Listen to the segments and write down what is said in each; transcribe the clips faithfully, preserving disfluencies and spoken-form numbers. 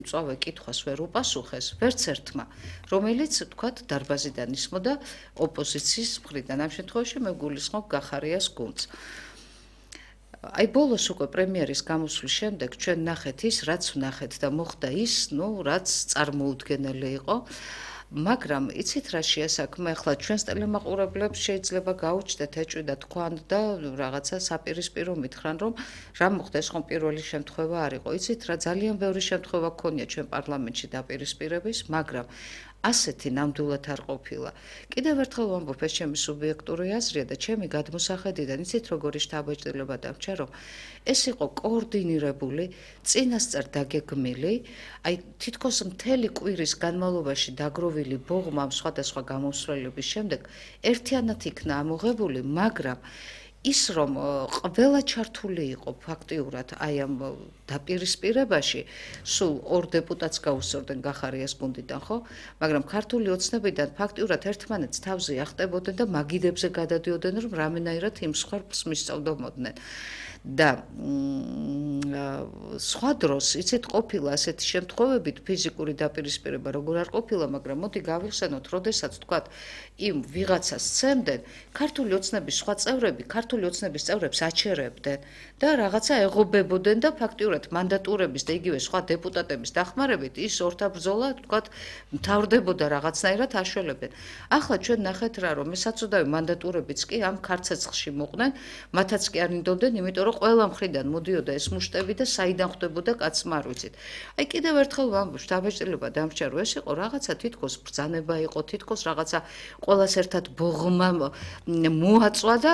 წავე კითხვას ვერ უპასუხეს ვერც ერთმა, რომელიც თქვათ დარბაზიდან ისმოდა ოპოზიციის მხრიდან. ამ შემთხვევაში მე გულისხმობ გახარიას გუნდს. აი ბოლოს უკვე პრემიერის გამოსვლის შემდეგ ჩვენ ნახეთ ის, რაც ვნახეთ და მოხდა ის, ნუ რაც წარმოუდგენელი იყო. მაგრამ იცით რა შეასაქმე, ახლა ჩვენს ტელემაყურებლებს შეიძლება გაუჩნდეთ ეჭვი და თქვან და რაღაცა საპირისპირო მითხრან, რომ რა მოხდა, ეს ხომ პირველი შემთხვევა არ იყო. იცით რა, ძალიან ბევრი შემთხვევა გქონია ჩვენ პარლამენტში დაპირისპირების, მაგრამ ასეთი ნამდვილად არ ყოფილა. კიდევ ერთხელ ვამბობ, ეს ჩემი სუბიექტური აზრია და ჩემი გადმოსახედიდან, იცით როგორი შთაბეჭდილება დამჭა, რომ ეს იყო კოორდინირებული, წინასწარ დაგეგმილი, აი თითქოს მთელი კვირის განმავლობაში დაგროვილი ბოღმა ამ სხვადასხვა გამოსვლელების შემდეგ ერთიანად იქნა ამოღებული, მაგრამ ის რომ ყველა ჩართული იყო ფაქტიურად აი ამ დაპირისპირებაში, სულ ორ დეპუტატს გაუსწორდნენ გახარიას გუნდიდან, ხო? მაგრამ ქართული ოცნებიდან ფაქტიურად ერთმანეთს თავზე ახტებოდნენ და მაგიდებზე გადადიოდნენ, რომ რამენაირად იმ სხვარფს მისწავდომოდნენ. და სხვა დროს იცით ყოფილა ასეთი შემთხვევებით ფიზიკური დაპირისპირება როგორ არ ყოფილა, მაგრამ მოდი გავიხსენოთ, როდესაც თქვათ იმ ვიღაცას სცემდნენ, ქართული ოცნების სხვა წევრები, ქართული ოცნების წევრებს აჩერებდნენ და რაღაცა ეღობებოდნენ და ფაქტიურად მანდატურების და იგივე სხვა დეპუტატების დახმარებით ის ორთაბრძოლა, თქვათ, მთავრდებოდა რაღაცნაირად აშველებდნენ. ახლა ჩვენ ნახეთ რა, რომ საწოდავი მანდატურებიც კი ამ ქარცეცხლში მოყვნენ, მათაც კი არ ინდობდნენ, იმიტომ რომ ყველა მხრიდან მოდიოდა ეს მუშტები და საიდან ხვდებოდა კაცმა არ ვიცით. აი კიდევ ერთხელ ვამბობ, შთაბეჭდილება დამჭა, რომ ეს იყო რაღაცა თითქოს ბრძანება იყო, თითქოს რაღაცა ყველას ერთად ბოღმა მოაწვა და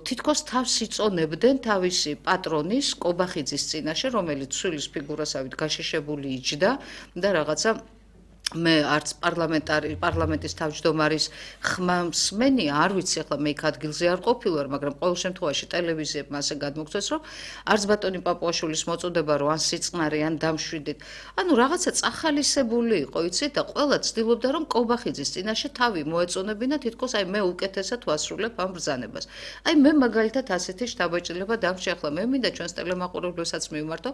თითქოს თავს იწონებდნენ თავისი პატრონის კობახიძის წინაშე, რომელიც ცვილის ფიგურასავით გაშეშებული იჯდა და რაღაცა მე არც პარლამენტარი პარლამენტის თავმჯდომარის ხმამსმენი არ ვიცი, ახლა მე იქ ადგილზე არ ყოფილვარ, მაგრამ ყოველ შემთხვევაში ტელევიზიებმა ასე გადმოგწეს, რომ არც ბატონი პაპუაშვილის მოწოდება რო ან სიწყნარი ან დამშვიდით, ანუ რაღაცა წახალისებული იყო, იცით, და ყველა ცდილობდა რომ კობახიძის წინაშე თავი მოეწონებინა, თითქოს აი მე უკეთესად ვასრულებ ამ ბრძანებას. აი მე მაგალითად ასეთი შთაბეჭდილება დამჭა, ახლა მე მინდა ჩვენს ტელემაყურებლებსაც მივმართო,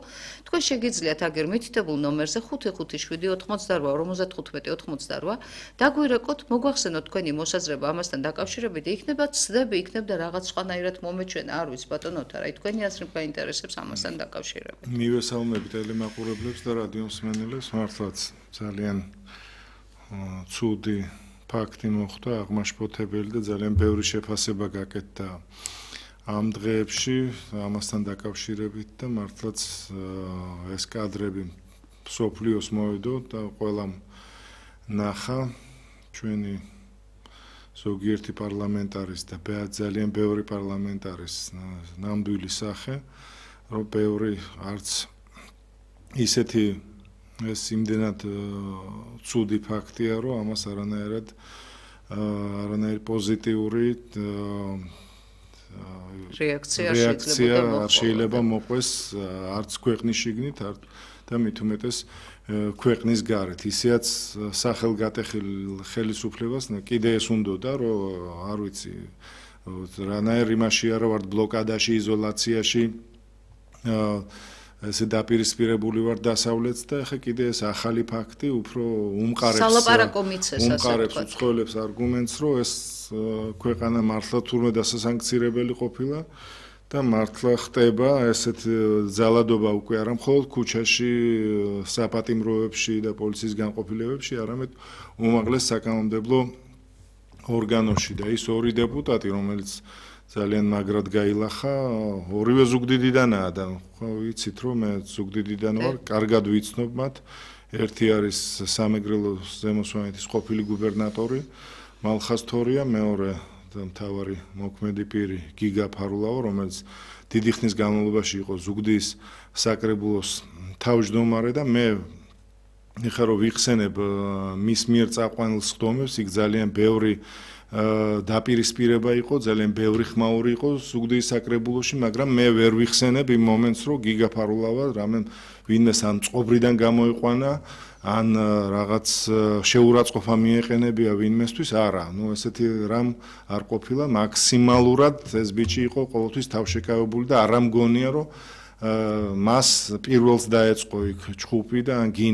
თქვენ შეგიძლიათ აგერ მითითებულ ნომერზე ხუთი ხუთი შვიდი ოთხმოცდარბა ორმოცდახუთმეტი ოთხმოცდარბა დაგვირეკოთ, მოგვახსენოთ თქვენი მოსაზრება ამასთან დაკავშირებით და იქნება ცდები, იქნება რაღაც სხვანაირად მომეჩვენა, არ ვიცი ბატონოთა, რა თქვენი აზრი გაინტერესებს ამასთან დაკავშირებით. მივესალმები ტელემაყურებლებს და რადიო მსმენელებს, მართლაც ძალიან ცუდი ფაქტი მოხდა, აღმაშფოთებელი და ძალიან ბევრი შეფასება გაკეთდა ამ დღეებში ამასთან დაკავშირებით და მართლაც ეს კადრები სოფლიოს მოვიდო და ყველამ ნახა ჩვენი ზოგიერთი პარლამენტარის და ძალიან ბევრი პარლამენტარის ნამდვილი სახე, რომ ბევრი არც ისეთი ეს იმდენად ცუდი ფაქტია, რომ ამას არანაირად არანაირი პოზიტიური რეაქცია შეიძლება მოყვეს არც ქვეყნის შიგნით, არც და მით უმეტეს ქვეყნის გარეთ. ისეაც სახელგატეხილ ხელისუფლებას კიდე ეს უნდოდა, რომ არ ვიცი, რანაირ იმაში არა ვარ ბლოკადაში, იზოლაციაში, ესე დაპირისპირებული ვარ დასავლეთს და ეხა კიდე ეს ახალი ფაქტი უფრო უმყარებს სალაპარაკო მიცეს ასე უმყარებს უცხოელებს არგუმენტს, რომ ეს ქვეყანა მართლა თურმე დასასანქცირებელი ყოფილა და მართლა ხდება ესეთ ძალადობა უკვე არა მხოლოდ ქუჩაში, საპატიმროებში და პოლიციის განყოფილებებში, არამედ უმაღლეს საკანონმდებლო ორგანოში და ის ორი დეპუტატი, რომელიც ძალიან მაგრად გაილახა, ორივე ზუგდიდიდანაა და ხო ვიცით, რომ მე ზუგდიდიდან ვარ, კარგად ვიცნობ მათ. ერთი არის სამეგრელოს ზემოსვანეთის ყოფილი გუბერნატორი მალხაზ თორია, მეორე მთავარი მოქმედი პირი გიგა ფარულაო, რომელიც დიდი ხნის განმავლობაში იყო ზუგდიდის საკრებულოს თავმჯდომარე და მე ეხლა რომ ვიხსენებ მის მიერ წაყვანილ სხდომებს, იქ ძალიან ბევრი დაპირისპირება იყო, ძალიან ბევრი ხმაური იყო ზუგდიდის საკრებულოში, მაგრამ მე ვერ ვიხსენებ იმ მომენტს, რომ გიგა ფარულავა რამე ვინმეს ან წყობრიდან გამოიყვანა, ან რაღაც შეურაცხყოფა მიეყენებია ვინმესთვის, არა, ნუ ესეთი რამ არ ყოფილა, მაქსიმალურად ეს ბიჭი იყო ყოველთვის თავშეკავებული და არ ამგონია, რომ მას პირველს დაეწყო იქ ჩხუბი და ან გინე